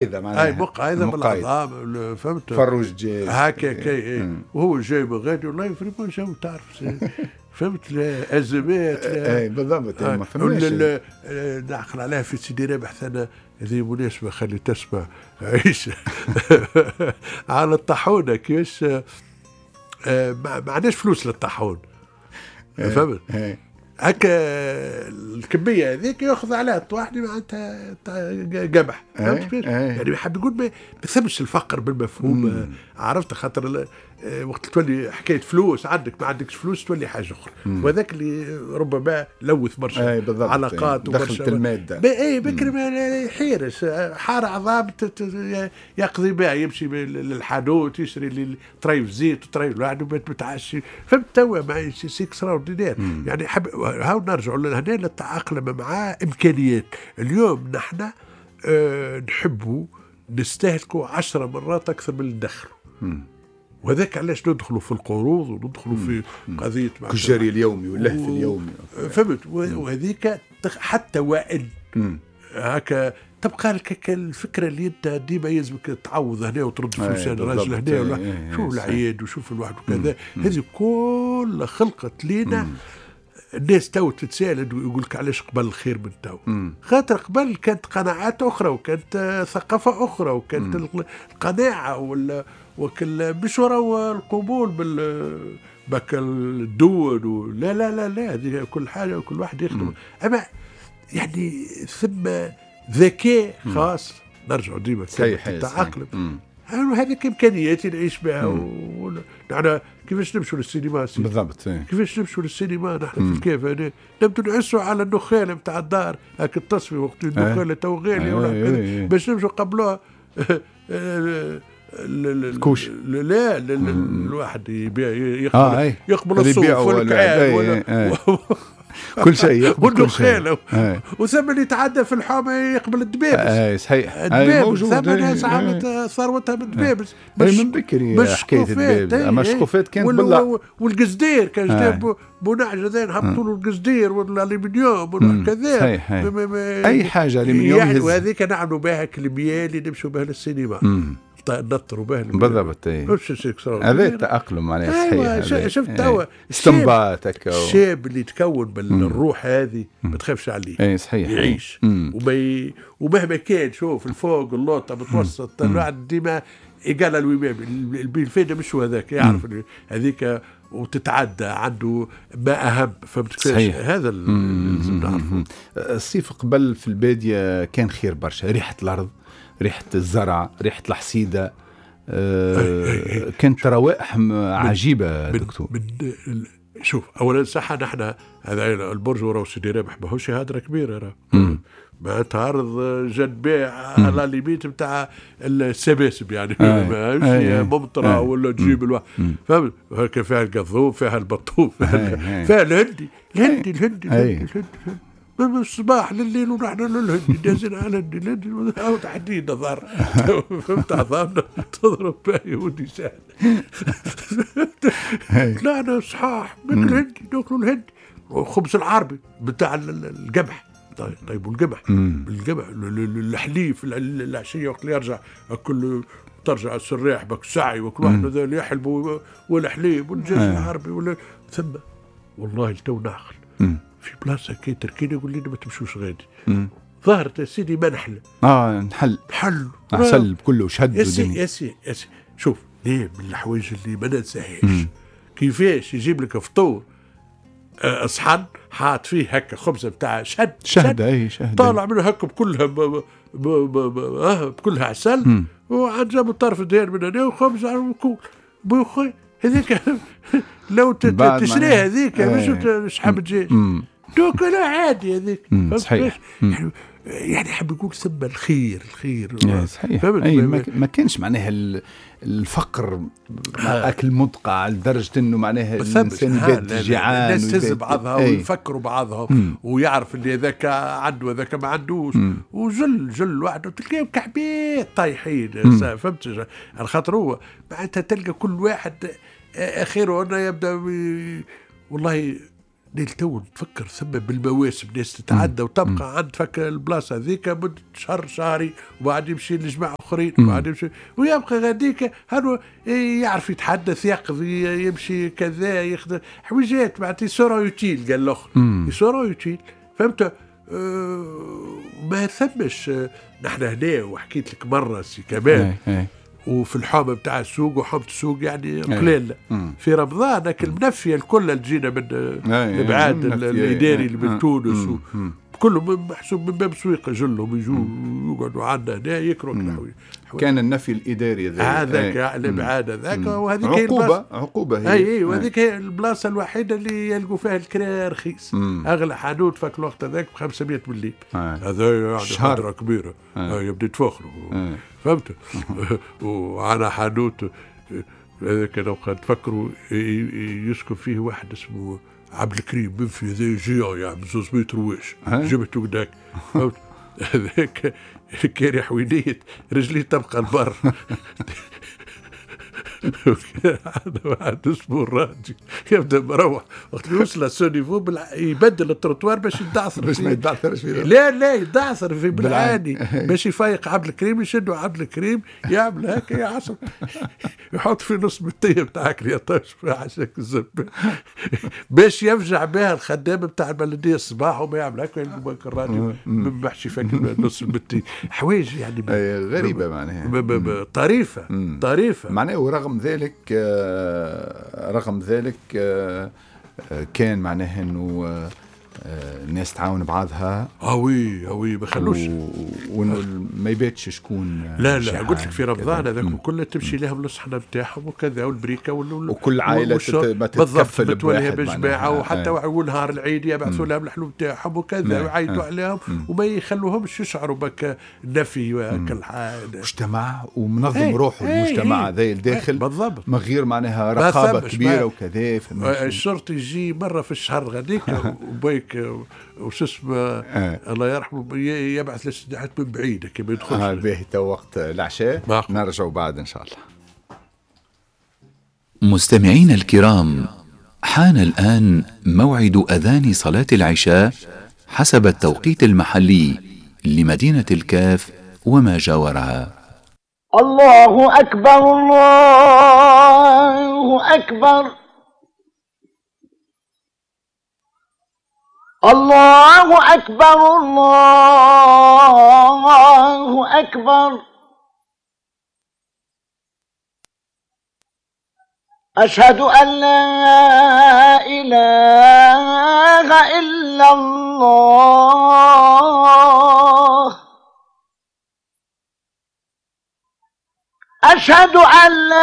معناها اي مقايضه بالعظام، فهمت؟ فروج دجاج هكا كي، وهو جاي من غادي والله vraiment جو تعرف، فهمت؟ ازمات. اي بالضبط، ما فهمناش. نعقل عليها في سيدي رابح انا، هذه مناسبة خلي تسمع عيش على الطاحونه كيفاش ما عندناش فلوس للطاحون، فهمت؟ هكا الكمية هذيك ياخذ عليها الطواحني معناتها قمح، فهمت كيفاش؟ يعني حاب يقول ما ثمش الفقر بالمفهوم، عرفت؟ خاطر وقت تولي حكاية فلوس عندك ما عندكش فلوس تولي حاجة اخرى، وهذاك اللي ربما لوث برشا علاقات. دخلت المادة. اي بكري ما يحيرش، حار عظام يقضي بها، يمشي للحانوت يشري طريف زيت وطريف الواحد وبات متعشي، فهمت؟ توا ما c'est extraordinaire. يعني حب هاو نرجعوا لهنا للتأقلم مع امكانيات اليوم. نحن نحبوا نستهلكوا 10 مرات اكثر من اللي ندخلوا، وهذاك علاش ندخلوا في القروض وندخلوا في قضية الجري اليومي واللهف اليومي، فهمت؟ وهذيك حتى وان هكا تبقى لك الفكرة اللي انت ديما يلزمك تعوض هنا وترد فلوس الراجل هنا ولا شوف العياد وشوف الواحد وكذا. هذه كل خلقت لينا. الناس تو تتساءل يقول لك علاش قبل الخير من تو؟ خاطر قبل كانت قناعات اخرى وكانت ثقافة اخرى وكانت القناعة وكل مش وراء القبول بال بك الدول لا لا لا لا، هذه كل حاجة وكل واحد يخدم. اما يعني ثم ذكاء خاص، نرجع ديما التعقلم، هذيك امكانياتي نعيش بها. نحن كيفاش نمشوا للسينما؟ بالضبط، كيفاش نمشوا للسينما نحن في الكيف هنا نبدو نعسوا على النخاله نتاع الدار، هاك التصفية وقت النخاله تو غالية ولا باش نمشوا قبلوها الكوش. لا الواحد يبيع يقبل يقبل الصوف والكعاب كل شيء يقبل، كل شيء. وثم اللي يتعدى في الحومه يقبل الدبابس. اي صحيح، الدبابس ثم ناس عملت ثروتها من الدبابس. من بكري حكاية الدبابس، اما الشقوفات كانت بالله. والقصدير كان جاب بونعج هذا نهبطوا له القصدير والالومنيوم وكذا. صحيح، اي حاجة الومنيوم. يعني وهذيك نعملوا بها كلميه اللي نمشوا بها للسينما، نطروا به. بالضبط، هذا التأقلم معناها. صحيح. شفت توا استنباط هكا الشاب اللي تكون بالروح هذه ما تخافش عليه. اي صحيح، يعيش ومهما كان، شوف الفوق اللوطه متوسط الواحد ديما égal à lui-même. الفايدة مش هو هذاك، يعرف هذيك وتتعدى عنده ما اهم، فهمت؟ هذا اللي لازم نعرفه. الصيف قبل في البادية كان خير برشا، ريحه الارض، ريحة الزرع، ريحة الحصيدة، كانت روائح عجيبة دكتور. شوف أولا صح، نحن هذا البرج وراه سيدي رابح ماهوش هادرة كبيرة، راه معناتها أرض جنباع على limite نتاع السباسب، يعني ماهيش ممطرة ولا تجيب الواحد، فهمت؟ هكا فيها القضوب، فيها البطوف، فيها الهندي الهندي الهندي الهندي من الصباح لليل ونحن للهندي دازين على الهندي الهندي تحديد ظهر، فهمت؟ عظامنا تضرب بها ودي سهل. طلعنا صحاح من الهندي، ناكلوا الهندي والخبز العربي بتاع القمح. طيب والقمح القمح الحليب العشية وقت اللي يرجع كل ترجع السراح بك سعي وكل واحد هذا اللي يحلبوا والحليب والدجاج العربي ولا ثم والله تو نعقل في بلاصة كي تركينا يقول لنا ما تمشوش غادي. ظهرت يا سيدي منحله. نحل نحل عسل كله شهد. يا سي يا سي يا سي شوف ليه من الحوايج اللي ما ننساهاش كيفاش يجيب لك فطور صحن حاط فيه هكا خبزه بتاع شهد شهد اي شهد طالع منه هكا بكلها بكلها عسل وعاد جابوا طرف دهان من هنا وخبز وكل بوخي هذيك لو تشريها هذيك مش شحال تجي دوك لا عادي هذيك. صحيح. يعني حاب يقول ثم الخير الخير. صحيح. أي ما كانش معناها الفقر اكل مدقع لدرجة انه معناها الانسان يبات جيعان. الناس تهز بعضها ويفكروا بعضها ويعرف اللي هذاك عنده هذاك ما عندوش وجل جل وحده تلقاهم كعبات طايحين. فهمت؟ على خاطر هو معناتها تلقى كل واحد اخره انه يبدا والله تو تفكر ثم بالمواسم ناس تتعدى وتبقى عند فك البلاصة هذيك مده شهر شهري، وبعد يمشي لجماعة اخرين، وبعد يمشي ويبقى غاديك. هذا يعرف يتحدث، يقضي، يمشي كذا، يخدم حويجات، معناتها ils seront utiles، قال الاخر ils seront utiles، فهمت؟ ما ثمش. نحن هنا وحكيت لك مرة سي كمال، وفي الحومه بتاع السوق، وحومه السوق يعني قليل في رمضان هاك المنفية الكل اللي تجينا من الابعاد الاداري اللي من تونس كلهم محسوب من باب سويقه، جلهم يجوا يقعدوا عندنا هنا يكروا الحوايج. كان النفي الاداري هذاك الابعاد هذاك، وهذيك عقوبه، عقوبه هي. اي، وهذيك هي البلاصة الوحيدة اللي يلقوا فيها الكرا رخيص. اغلى حانوت فك الوقت هذاك ب 500 مليم، هذا يعني حضره كبيرة، يبدا يتفخروا، فهمت؟ وعلى حانوت هذاك لو تفكروا يسكن فيه واحد اسمه عبد الكريم بن في ذا géant، يعني 2 متر واش جبته قداك، فهمت؟ هذاك كان حوينيت رجلي تبقى البر. عندنا واحد اسمه الراجي يبدا مروح، وقت يوصل ce niveau يبدل التروتوار باش يدعثر، باش ما يدعثرش. في لا لا، يدعثر في بالعاني باش يفيق عبد الكريم، يشدوا عبد الكريم يعمل هكا يعصر، يحط في نص بالتيه بتاعك يطش عشاك الزب باش يفجع بها الخدام بتاع البلدية الصباح، وما يعمل هكا يلقوا الراديو محشي فك نص البتي. حوايج يعني غريبة معناها. طريفه طريفه. معناها ورغم ذلك رغم ذلك كان معناها انه الناس تعاون بعضها. ah oui ah oui، ما خلوش. وانه ما يباتش شكون. لا لا، قلت لك في رمضان هذاك كله تمشي لهم الصحنه نتاعهم وكذا والبريكه وكل عائلة ما تتكفل. بتوليها بجماعه، وحتى ونهار العيد يبعثوا لهم الحلو نتاعهم وكذا ويعيطوا عليهم وما يخلوهمش يشعروا بك النفي وكل حاجه. مجتمع ومنظم روحه المجتمع هذا الداخل. بالضبط. من غير معناها رقابه كبيرة وكذا. الشرطي يجي مرة في الشهر غاديك وبيك وش اسمه الله يرحمه يبعث الاستدعاءات من بعيد كي يدخلش. باهي، تو وقت العشاء، نرجع بعد ان شاء الله. مستمعينا الكرام، حان الآن موعد أذان صلاة العشاء حسب التوقيت المحلي لمدينة الكاف وما جاورها. الله أكبر، الله أكبر، الله أكبر، الله أكبر. أشهد أن لا إله إلا الله، أشهد أن لا